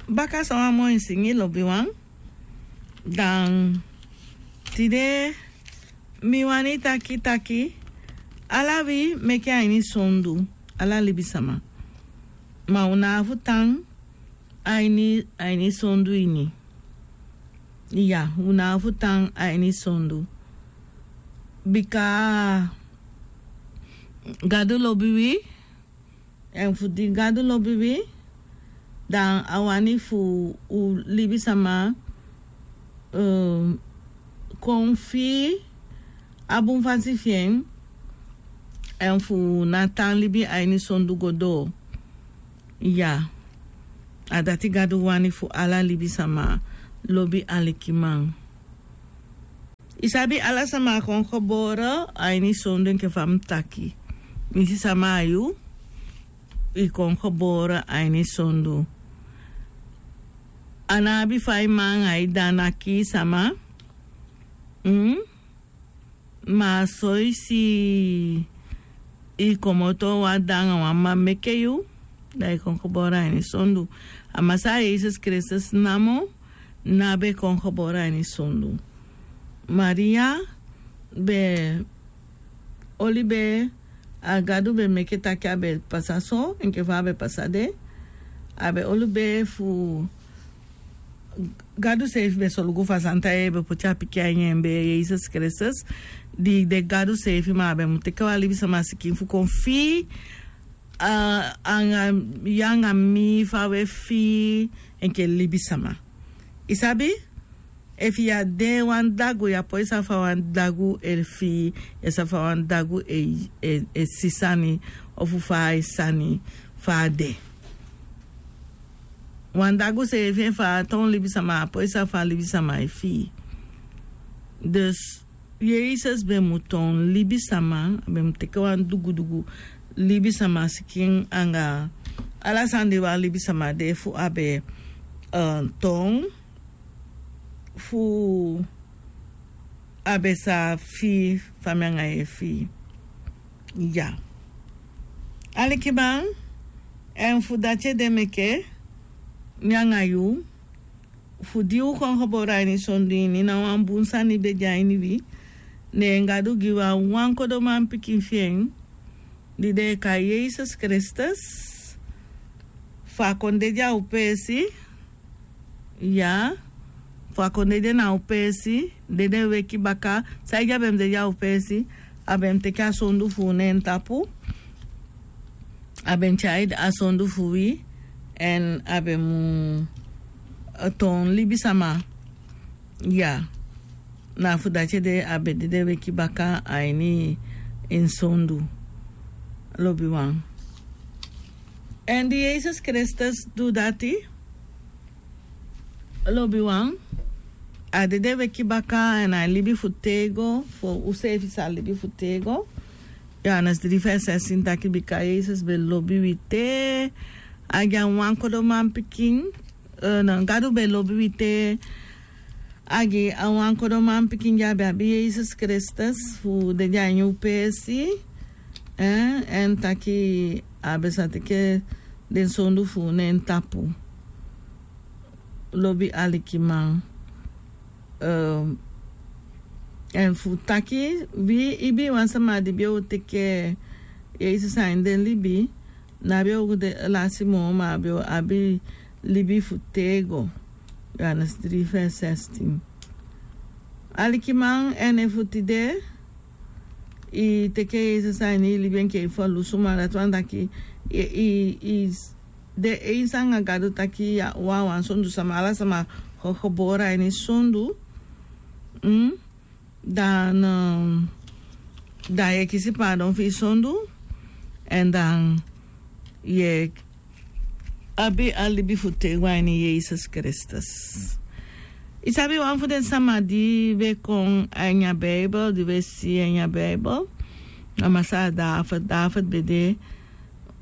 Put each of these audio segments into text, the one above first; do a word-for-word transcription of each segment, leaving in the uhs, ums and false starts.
Baka san wan moi singi lobiwan. Dan tide mi wani taki taki, ala wi meke a ini sondu, ala libisama. Ma un na fu tan a ini a ini sondu ini. Iya, un na fu tan a ini sondu. Bika Gadu lobi wi. Èn fu di Gadu lobi wi, dan a wani fu un libisama kon fii a bun fasi fi en. Èn fu na tan libi a ini sondu go doo. Iya. A dati Gadu wani fu ala libisama lobi alikiman. I sabi ala sama kon gebore a ini sondu enke fa mi taki. Mi si sama a yu, i kon gebore a ini sondu. A no abi fa i man a i dana kii sama. Ma so i si i komoto wan dda anga wan mama meke yu, da i kon gebore a ini sondu. A Masaa Yesus Kristus namo na be kon gebore a ini sondu. Maria be oli be, a Gadu be meke taki a be pasa so enke fa a be pasa de. A be oli be fu Gadu seefi be solugu fu a santa yeye be poti a pikin a ini en be Yesus Kristus. Di de Gadu seefi ma a be mu teke wan libisama sikin fu kon fii, anga yu anga mi fa we fii enke libisama. I sabi? Efu yu á de wan dagu yu á poi sabi fa wan dagu e fii, yu á sabi fa wan dagu e si sani, ofu fa a e sani, fa a de. Wan dagu seefi efu a á toon libisama a á poi sabi fa libisama e fii. Dus Yesus be mu toon libisama, a be mu teke wan dugudugu libisama sikin anga ala sani di wan libisama de fu a be toon fu a be sa fii fa mi anga yu e fii. Ya. Alikiman, èn fu dati ede meke mi anga yu, fu di u kon gebore a ini sondu ini, na wan bun sani be de a ini wi. Ne Gadu gi wi a wan kodo manpikin fi en, di den e kai Yesus Kristus, fu a kon dede a u peesi. Ya, fu a kon dede na u peesi, dede weki baka. Saide a be mu dede a u peesi? A be mu teke a sondu fu u na en tapu. A be mu tyai a sondu fu wi, èn a be mu toon libisama. Ya. Na fu dati ede a be dede weki baka a ini en sondu. Lobiwan. Èn di Yesus Kristus du dati, lobiwan, a dede weki baka èn a libi fu tego, fu useefi sa libi fu tego. Johannes dri vers zestien taki bika Yesus be lobi wi te a gi a wan kodo manpikin. Gadu be lobi wi te a gi a wan kodo manpikin di a be abi, Yesus Kristus, fu dede a ini u peesi. Èn taki a be sa teke den sondu fu u na en tapu. Lobi alikiman. Èn fu taki wi ibi wan sama di be o teke Yesus a ini den libi, na be o de lasi moo ma a be o abi libi fu tego. Johannes dri vers zestien. Alikiman, èn efu tide i teke Yesus a ini i libi enke i ferlusu, ma dati wani taki i de eens anga Gadu taki ya, wawan sondu sama, ala sama kon gebore a ini sondu. Dan dan yu e kisi paadon fu i sondu. Èn dan yu e abi a libi fu tego a ini Yesus Kristus. I sabi wan fu den sama di we kon a ini a Bijbel, di we si a ini a Bijbel, na Masaa David. David be de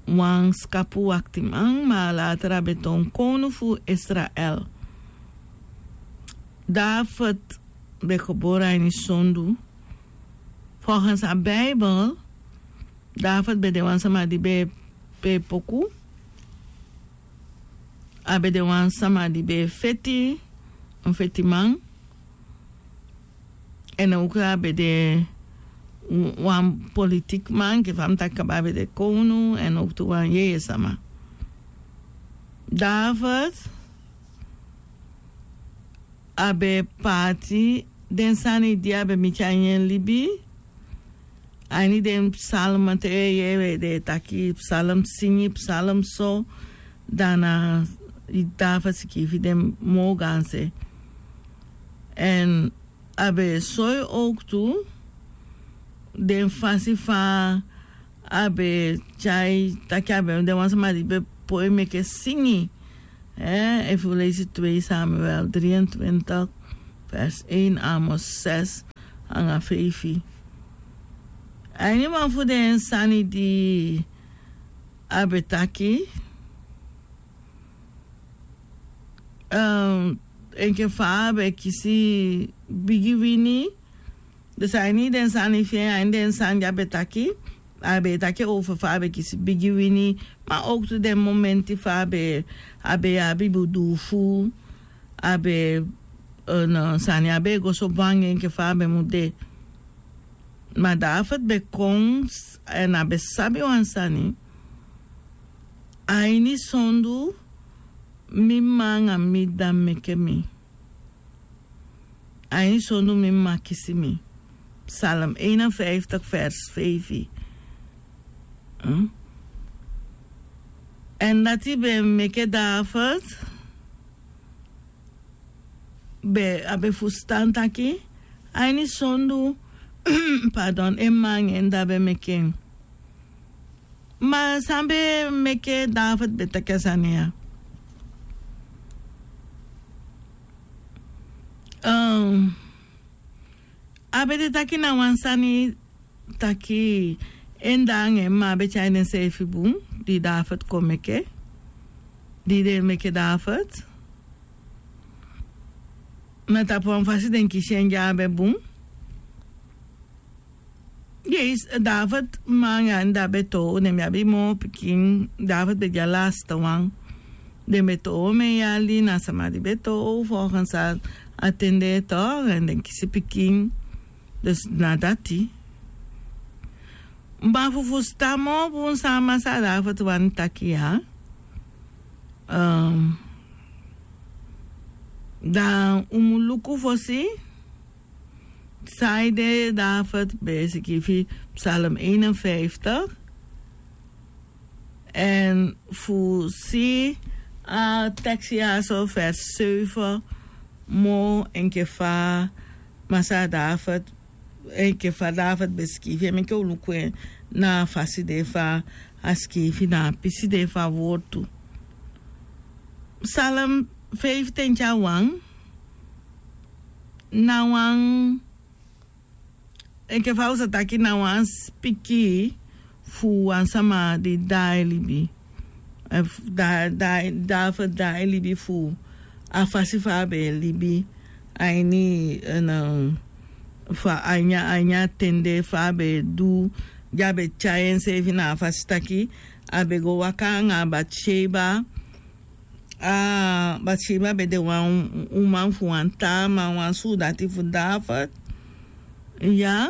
wan skapu waktiman, ma later a be toon kownu fu Israel. David be gebore a ini sondu. Volgens a Bijbel, David be de wan sama di be e poku. a be de wan sama di be e feti, wan fetiman. Èn a oku a be de wan politikman, enke fa mi taki kaba, a be de kownu èn a oku tu wan yeye sama. David a be paati den sani di a be miti a ini en libi. A ini den psalm te yu e yere den e taki psalm singi, psalm so, dan na David sikiifi den moo gaanse. Èn a be soi owktu den fasi fa a be tyai taki a be de wan sama di be poi meke singi. Efu yu leisi twee Samuel drieëntwintig vers één, Amos zes anga feifi. A ini wan fu den sani di a be taki, enke fa a be kisi bigi wini. Dus a ini den sani fi en, a ini den sani di a be taki, a be taki over fa a be kisi bigi wini. Ma owktu den momenti fa a be, a be abi budufu, a be, no, sani a be go so bun anga en enke fa a be mu de. Ma David be kon, èn a be sabi wan sani. A ini sondu mi mma anga mi dda meke mi. A ini sondu mi mma kisi mi. Psalm eenenvijftig vers feifi. Èn dati be meke David be, a be fusutan taki a ini sondu, pardon, en mma anga en dda be meke en. Ma san be meke David be taki a sani ya? A be de taki na wan sani taki en dda anga en mma be tyai denseefi bun, di David kon meke, di den meke David. Na tapu wan fasi den kisi en di a be bun. Yes, David mma anga en dda be toow, den be abi moo pikin. David be de a laatste wan. Den be toow omen yali, na sama di be toow volgens a ten de toch, èn den kisi pikin. Dus na dati. Ma fu fusutan moo bun san Masra David wani taki ya, dan un mu luku fosi saide David be sikiifi Psalm eenenvijftig. Èn fu si a tekst ya so, vers zeven, moo enke fa Masra David, enke fa David be sikiifi en, meke un luku en na a fasi de fa a sikiifi, na a pisi de fu a wortu. Psalm vijftien tya wan, na wan, enke fa un sa taki, na wan sipikii fu wan sama di daai libi. Efu da, da, David daai libi fu a fasi fa a be libi a ini, en, fa a ini a, a ini a ten de fa a be du, di a be tyai enseefi na a fasi taki a be go waka anga Bathsheba. A Bathsheba be de wan uman fu wan taa man, wan suudati fu David. Ya.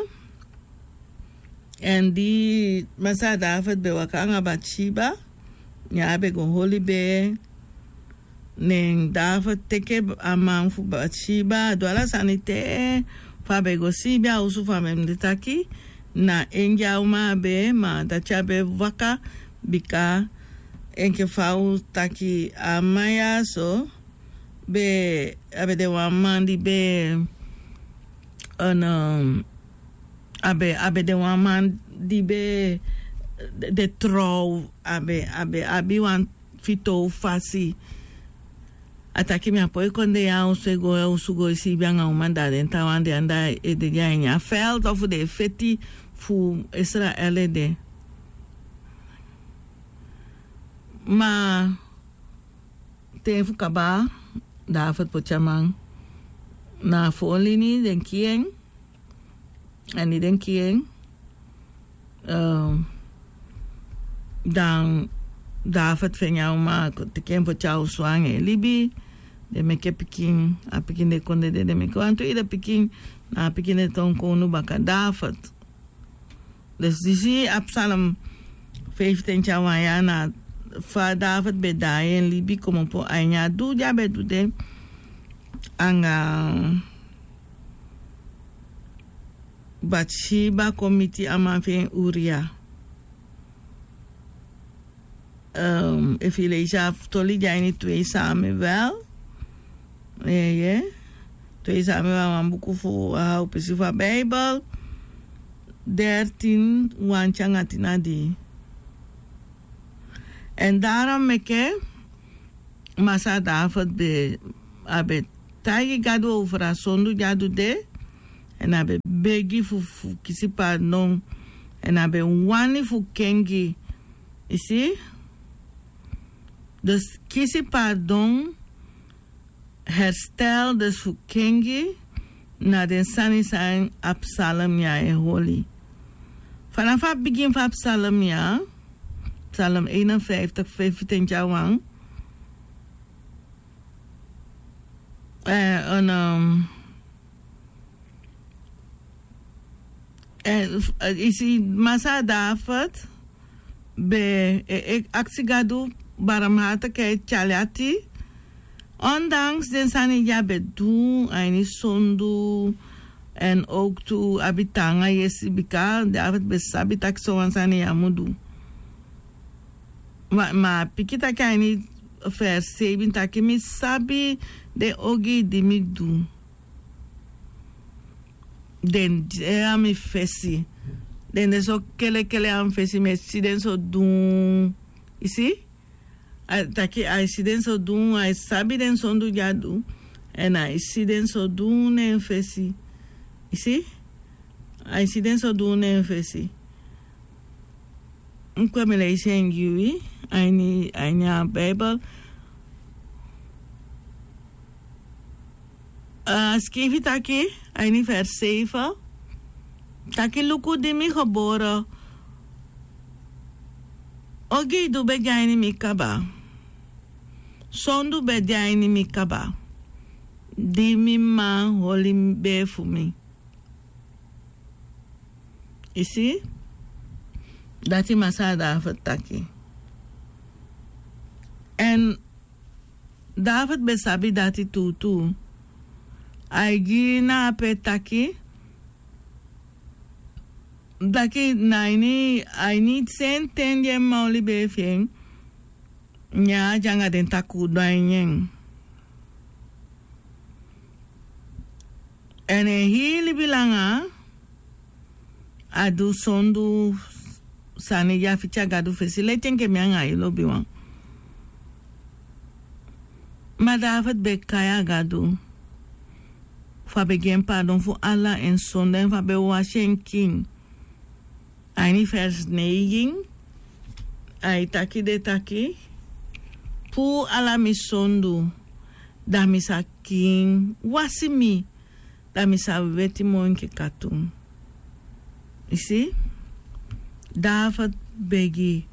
Èn di Masra David be waka anga Bathsheba, ne a be go holi bee. Ne David teke a man fu Bathsheba, a du ala sani te fa a be go siibi a osu fa mi e taki. Na en gi a uman a bee, ma dati a be waka, bika enke fa un taki a man ya so be, a be de wan man di be, en, a be, a be de wan man di be de, de trouw, a be, a be abi wan fitoow fasi. A taki mi á poi kon de ya a osu e go, a osu go e siibi anga uman, da den taawan de anda e de, de a ini a veld ofu den e feti fu Israel ede. Ma te fu kaba, David poti a man na a voorlini, den kii en. Èn di den kii en, eh, dan David feni a uman, a kon teki en poti a osu anga en libi. Den meke pikin, a pikin de kon dede, den meke wantu ede pikin. Na a pikin de tonkonu baka David. Dus disi a Psalm fifteen tya wan ya na fa David ben daai en libi komopo a ini a du di a ben du de anga Bathsheba kon miti a man fu en Uria. Ehm, efu yu leisi a toli di a ini twee Samuel. Eeye. Twee Samuel, wan buku fu a hau pisi fu a Bijbel. Dertien, wan tya anga tin na dii. Èn daarom meke Masaa David ben, a ben taigi Gadu over a sondu di a du de, èn a ben begi fu, fu kisi pardon, èn a ben wani fu kengi. Yu si? Dus kisi pardon, herstel, dus fu kengi na den sani san a psalm ya e holi. Fanafu a bigin fu a psalm ya, Psalm eenenvijftig, vijfentwintig a wan. Eh, en, ehm, eh, f-, eh, yu si, Masaa David ben, eh, eh, aksi Gadu barmhartigheid tyali ati. Ondanks den sani di a ben du, a ini sondu, èn ook tu abi taanga yesi bika David ben sabi taki sowan sani ya mu du. Ma, ma a piki taki a ini vers seibin taki mi sabi den ogii di mi du. Den de a mi fesi. Den de so kelekele a mi fesi, mi e si den so dun. Yu si? A taki a e si den so dun, a e sabi den sondu di a du. Èn a e si den so dun na en fesi. Yu si? A e si den so dun na en fesi. Enke mi leisi en gi wi, a ini, a ini a Bijbel. A skrifi taki, a ini vers zeven. Taki luku di mi gebore. Ogii du ben de a ini mi kaba. Sondu ben de a ini mi kaba. Di mi mama holi bee fu mi. Yu si? Dati Masaa David taki. Èn David ben sabi dati tuutuu. A e gi na ape taki, taki na ini, a ini senten di en mama oli bee fi en, ne a de anga den takuu du a ini en. Èn en hii libi langa, a du sondu sani di a fiti a Gadu fesi, leti enke mi anga yu lobiwan. Ma David ben kai a Gadu fu a ben gi en pardon fu ala en sondu, èn fu a ben wasi en kiin. A ini vers neigin, a e taki de taki, puu ala mi sondu, da mi sa kiin, wasi mi, da mi sa weti moo enke katun. Yu si? David begi,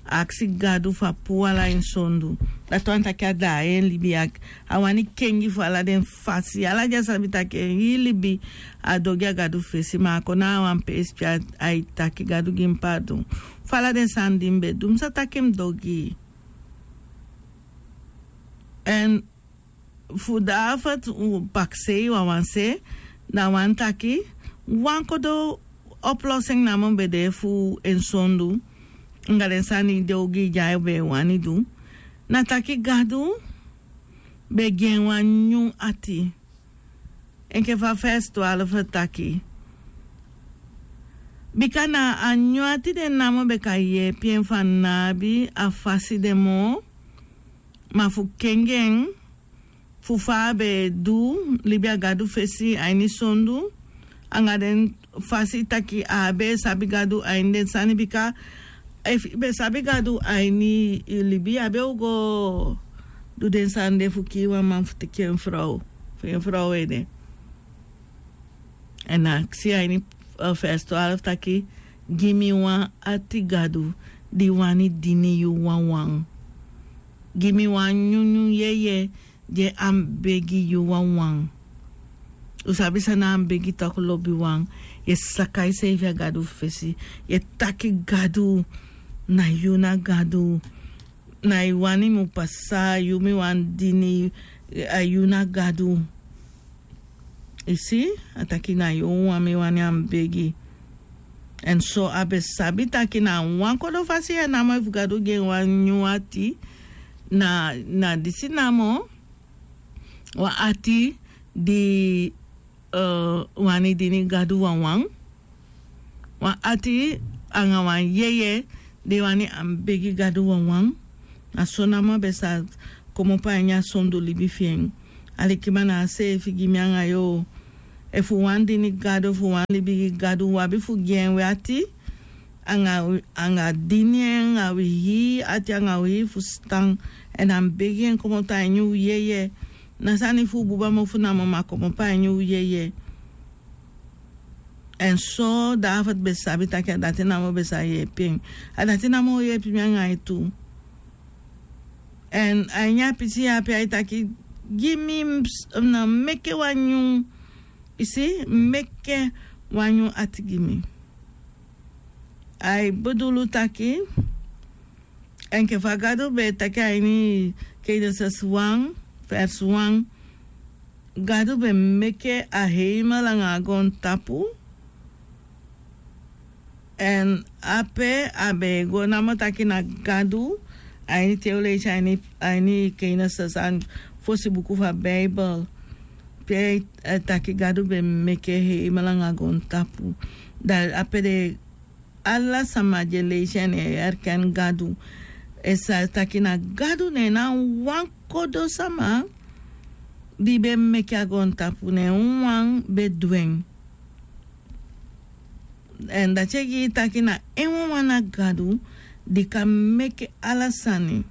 aksi Gadu fu a puu ala en sondu. Dati wani taki a daai en libi, a wani kengi fu ala den fasi. Ala di a sabi taki en hii libi a du ogii a Gadu fesi, ma a kon na a wan peesi pe a e taki Gadu gi mi pardon fu ala den sani di mi ben du. Mi sa taki mi du ogii. Èn fu David, u pakisei wawan se, da wani taki wan kodo oplossing namo ben de fu en sondu, anga den sani di ogii di a ben wani du. Na taki Gadu ben gi en wan nyun ati. Enke fa vers twaalf taki. Bika na a nyun ati de namo ben kan yeepi en fu a ná abi a fasi de moo, ma fu kengi en, fu fa a be du libi a Gadu fesi a ini sondu, anga den fasi taki a á be sabi Gadu a ini den sani, bika efu i be sabi Gadu a ini i libi, i á be o go du den sani de fu kii wan man fu teki en frow, fu en frow ede. Èn a aksi a ini, eh, vers twaalf taki, gi mi wan ati Gadu. di wani dini yu wanwan. Gi mi wan nyunyun yeye di e anbegi yu wanwan. U sabi san na anbegi toku lobiwan? Yu e saka yuseefi a Gadu fesi. Yu e taki Gadu, na yu na Gadu. Na yu wani mu pasa, yu mi wani dini, a yu na Gadu. I si, a taki na yu wan mi wani anbegi. Èn so a be sabi taki na wan kodo fasi ya namo efu Gadu gi en wan nyun ati, na, na disi namo, wan ati di, eh, wani dini Gadu wanwan. Wan ati anga wan yeye di wani anbegi Gadu wanwan. Na so namo a be sa komopo a ini a sondu libi fi en. Alikiman, na a seefi gi mi anga yu. Efu u wani dini Gadu, efu u wani libi gi Gadu, u abi fu gi en wi ati, anga, anga dini en anga wi hii ati, anga wi hii fusutan. Èn anbegi en komoto a ini u yeye. Na sani fu u buba mofu namo, ma komopo a ini u yeye. Èn so David be sabi taki a dati namo be sa yeepi en. A dati namo o yeepi mi anga yu tu. Èn a ini a pisi ya pe ai taki, gi mi, ms-, na meke wan nyun, i si, meke wan nyun ati gi mi. Ai bedulu taki, enke fa Gadu be taki a ini Genesis wan, vers wan, Gadu be meke a heimel anga a goontapu. Èn ape a be go namo taki na Gadu, a ini te u leisi a ini, a ini Genesis, a fosi buku fu a Bijbel. Pe, eh, taki Gadu be meke heimel anga goontapu. Da ape de ala sama di e leisi en e erken Gadu. E sa taki na Gadu, ne na wan kodo sama di be meke a goontapu, ne wan be du en. Èn dati e gi yu taki na en wanwan na Gadu di kan meke ala sani.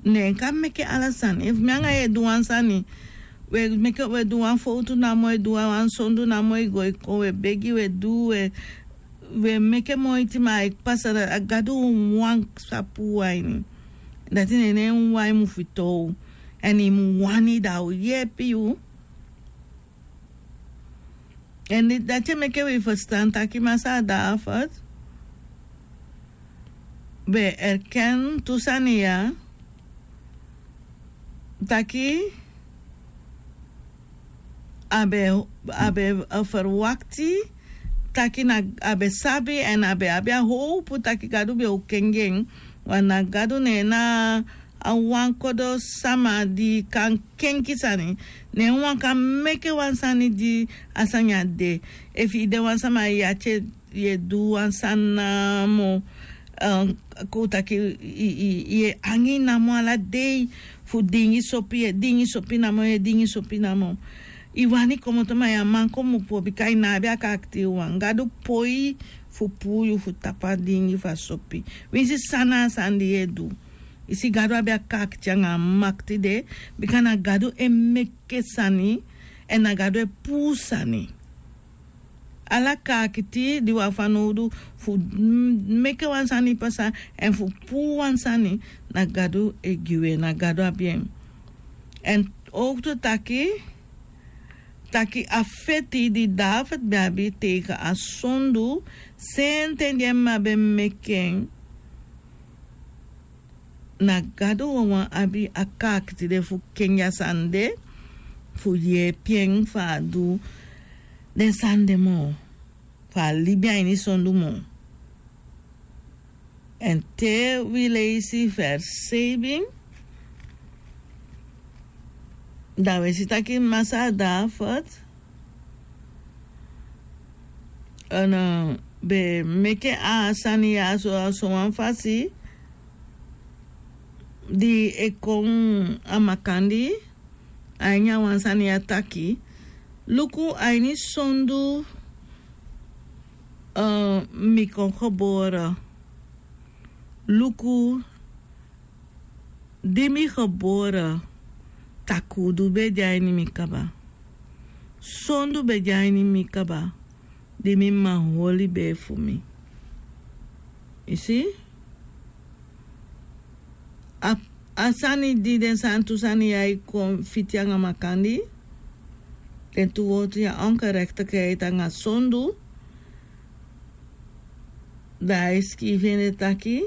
Ne en kan meke ala sani. Efu mi anga yu e du wan sani, we meke, we du wan fowtu namo, e du wan sondu namo, e go e kon, we begi, we du, we, we meke moiti, ma a e pasa, a Gadu wan sa puu a ini. Dati ne, ne en wan mu fitoow. Èn i mu wani da a o yeepi yu. Èn di, dati e meke wi fusutan taki Masaa David be erken tu sani ya, taki a be, a be, eh, ferwakti, taki na, a be sabi èn a be abi a howpu taki Gadu be o kengi en, want na Gadu ne en na a wan kodo sama di kan kenki sani. Ne en wan kan meke wan sani di a sani á de. Efu i de wan sama, i ati e, i e du wan sani namo, eh, kon taki i, i, i e angi namo ala dei fu dingi sopi, i e dingi sopi namo, i e dingi sopi namo. I wani komoto ma i á man komopo bika i ná abi a kaakiti wan. Gadu poi fu puu yu fu tapu a dingi fu a sopi. Winsi san na a sani di i e du. I si, Gadu abi a kaakiti anga a makiti de, bika na Gadu e meke sani, èn na Gadu e puu sani. Ala kaakiti di wi abi fanowdu fu m-, meke wan sani pasa, èn fu puu wan sani, na Gadu e gi wi en, na Gadu abi en. Èn owktu taki, taki a feti di David be abi tegen a sondu, senten di en mma be meke en, na Gadu wawan abi a kaakiti de fu kengi a sani de, fu yeepi en fu a du den sani de moo, fu a libi a ini sondu moo. Èn te wi leisi vers seibin, da wi e si taki Masaa David, eh, be meke a sani ya so, a sowan fasi di e kon a makandii, a ini a wan sani ya taki, luku, a ini sondu, eh, mi kon gebore. Luku, di mi gebore, takuudu be de a ini mi kaba. Sondu be de a ini mi kaba, di mi mma holi bee fu mi. I si? A sani di den sani tu sani ya e kon fiti anga makandi, den tu wortu ya ongerektikheid anga sondu. Da a e skifi en den taki,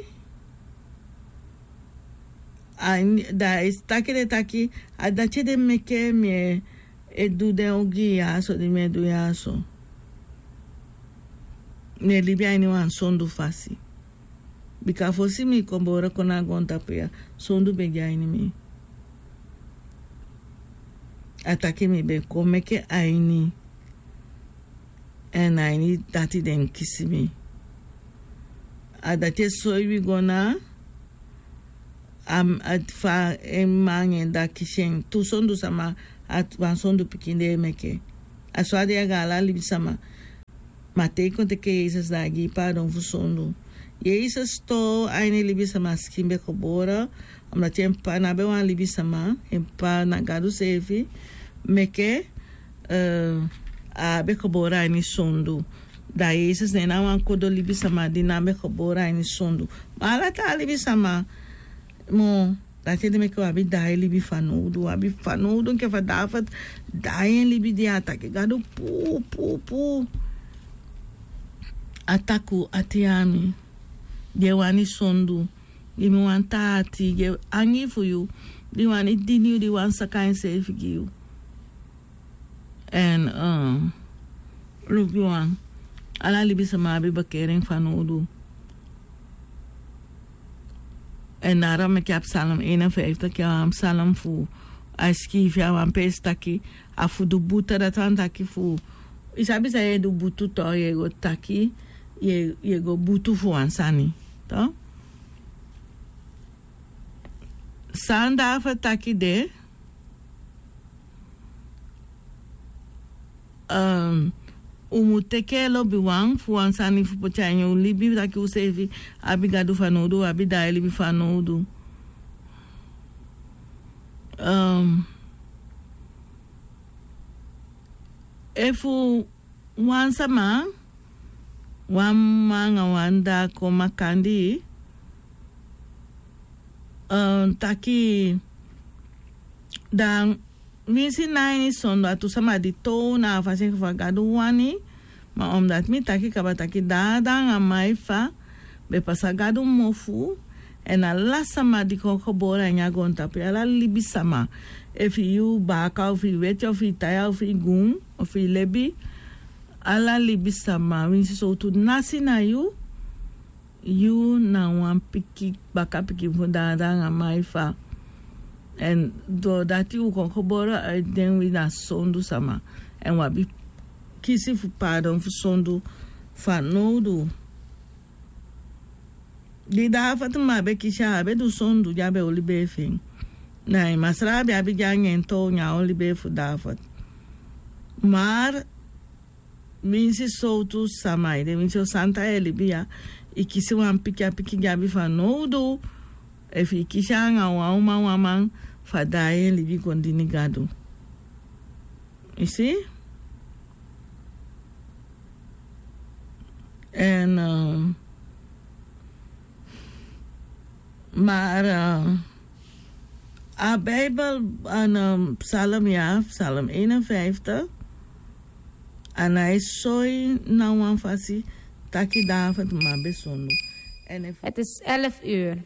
a ini da a e taki den taki, a dati ede meke mi e du den ogii ya so di mi e du ya so. Mi e libi a ini wan sondu fasi. Bika fosi mi kon boro kon na a goontapu ya, sondu ben de a ini mi. A taki mi ben kon meke a ini, èn a ini dati den kisi mi. A dati e soi wi go na a fa en mma anga en dda kisi en tu sondu sama, a wan sondu pikin di e meke. A so a de anga ala libisama. Ma te i kon teke yesus da a gi i pardon fu sondu. Yesus tu a ini libisama skin ben gebore, omdati en p'pa na ben wan libisama, en p'pa na gadu seefi meke a ben gebore a ini sondu. Da yesus na en na wan kodo libisama di na ben gebore a ini sondu. Ma ala taa libisama mu dati ede meke wi abi daai libi fanowdu wi abi fanowdu enke fa david daai en libi di a taki gadu puu puu puu. A taki un ati ya a mi. Di e wani sondu gi mi wan taa ati gi e angii fu yu. Di wani dini yu di wani saka enseefi gi yu. Èn luku wan ala libisama abi bekering fanowdu. Èn daro meke a psalm einenfijftig ya wan psalm fu a e skiifi a wan peesi taki a fu du buta dati wani taki fu yu sabi san yu e du butu to yu e go taki yu e go butu fu wan sani to san david taki de. Un mu teke lobiwan fu wan sani fu poti a ini un libi taki useefi abi gadu fanowdu un abi daai libi fanowdu. Efu wan sama wan mma anga wan dda kon makandii taki dan winsi na ini sondu a tu sama di tow na a fasi enke fa gadu wani. Ma omdati mi taki kaba taki dada anga maifa ben pasa gadu mofu. Èn ala sama di kon gebore a ini a goontapu yu ala libisama efu yu baaka ofu yu weti ofu yu taya ofu yu gun ofu yu lebi ala libisama winsi sowtu nasi na yu. Yu na wan pikin bakapikin fu dada anga maifa. Èn doo dati un kon gebore a ini den wi na sondu sama èn un abi kisi fu paadon fu sondu fanowdu. Di david mu a be kisi a a be du sondu di a be oli bee fu en. Na en masra a be abi gi anga en tow ne a oli bee fu david. Mar winsi sowtu sama ede winsi o santa e libi ya i kisi wan pikin a pikin di abi fanowdu. Efu i kisi anga wan uman wan man fu a daai en libi kon dini gadu. I si. Èn mar a bibel an psalm ya psalm einenfijftig. An a e soi na wan fasi taki david man ben sondu. En efu het is elf uur.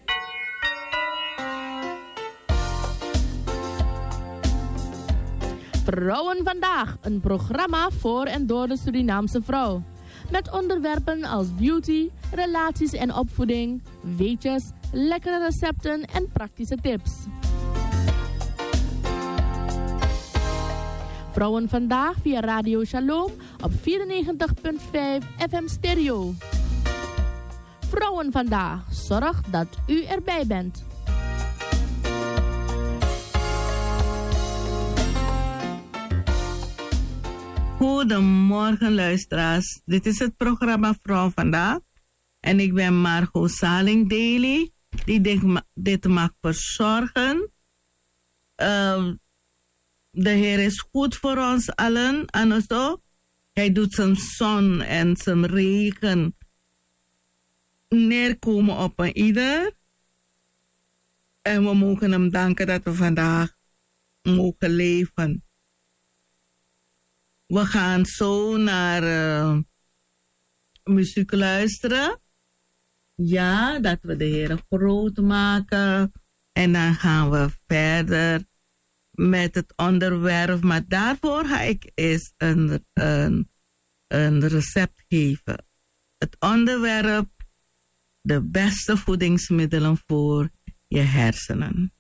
Vrouwen vandaag, een programma voor en door de Surinaamse vrouw. Met onderwerpen als beauty, relaties en opvoeding, weetjes, lekkere recepten en praktische tips. Vrouwen vandaag via Radio Shalom op vierennegentig punt vijf F M stereo. Vrouwen vandaag zorgt dat u erbij bent. Goedemorgen luisteraars, dit is het programma Vrouw Vandaag en ik ben Margot Saling Daly die dit, ma- dit mag verzorgen. Ehm, de Heer is goed voor ons allen, Anoso. Hij doet zijn zon en zijn regen neerkomen op een ieder. En we mogen hem danken dat we vandaag mogen leven. We gaan zo naar uh, muziek luisteren. Ja, dat we de Heer groot maken. En dan gaan we verder met het onderwerp. Maar daarvoor ga ik eerst een, een, een recept geven. Het onderwerp: de beste voedingsmiddelen voor je hersenen.